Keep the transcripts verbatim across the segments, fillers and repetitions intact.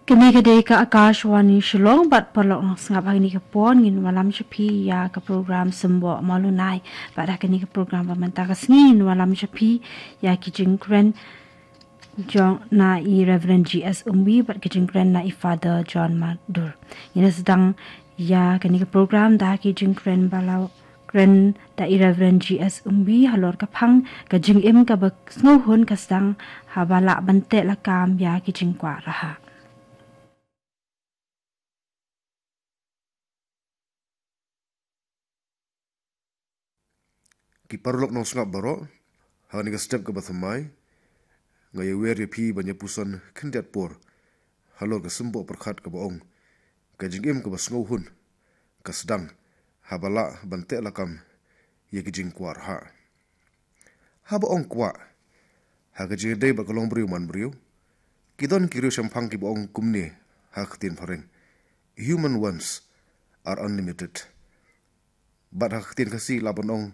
Kane ka dei ka Akashvani Shillong, bad paralok nongsngap, ha kane ka por ngin wallam sha phi ïa ka program Symboh Malunai. Bad ha kane ka program ba mynta ka sngi ngin wallam sha phi ïa ki jingkren jong na i Reverend G S Umwi bad ki jingkren na i Father John Madur. Ngin sdang ïa kane ka program da ki jingkren ba la kren da i Reverend G S Umwi halor ka phang ka jingim kaba sngewhun ka sdang haba lah ban teh lakam ïa ki jingkwah rhah. Ki paralok nongsngap baroh, ha kane ka step kaba thymmai nga ïawer ïa phi ban ïa puson khyndiat por halor ka symboh pyrkhat kaba ong, ka jingim kaba sngewhun ka sdang haba lah ban teh lakam ïa ki jingkwah rhah. Haba ong kwah, ha ka jingïadei bad ka longbriew manbriew, ki don ki riew shemphang kiba ong kumne ha ka ktien phareng: "Human wants are unlimited." Bad ha ka ktien Khasi lah ban ong,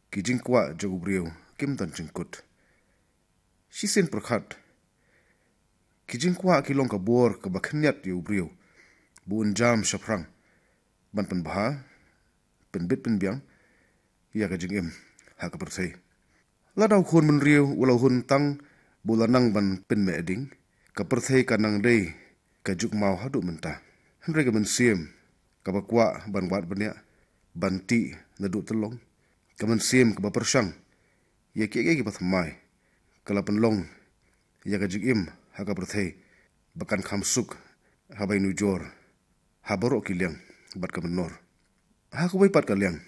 "Ki jingkwah jong u briew kim don jingkut." Shisien pyrkhat, ki jingkwah ki long ka bor kaba khyndiat ïa u briew ba un jam shaphrang ban pynbha, pynbit pynbiang ïa ka jingim ha ka pyrthei. Lada u khun bynriew u la hun tang ba u la nang ban pynmeh ding, ka pyrthei ka nang dei ka juk maw haduh mynta. Hynrei ka mynsiem kaba kwah ban wad bniah, ban tih naduh tyllong, ka mynsiem kaba pyrshang ïa kiei kiei kiba thymmai, ka la pynlong ïa ka jingim ha ka pyrthei ba kan kham suk ha ba ïanujor ha baroh ki liang bad ka mynnor. Ha kawei pat ka liang,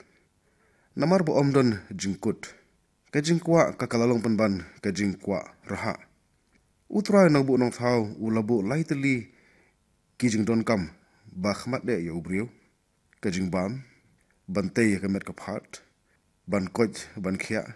namar ba ym don jingkut, ka jingkwah ka, ka la long pynban ka jingkwah rhah. U Trai Nongbuh Nongthaw u la buh lai tylli ki jingdonkam ba khmat eh ïa u briew: ka jingbam, ban tei ïa ka met ka phad, ban koit ban khiah,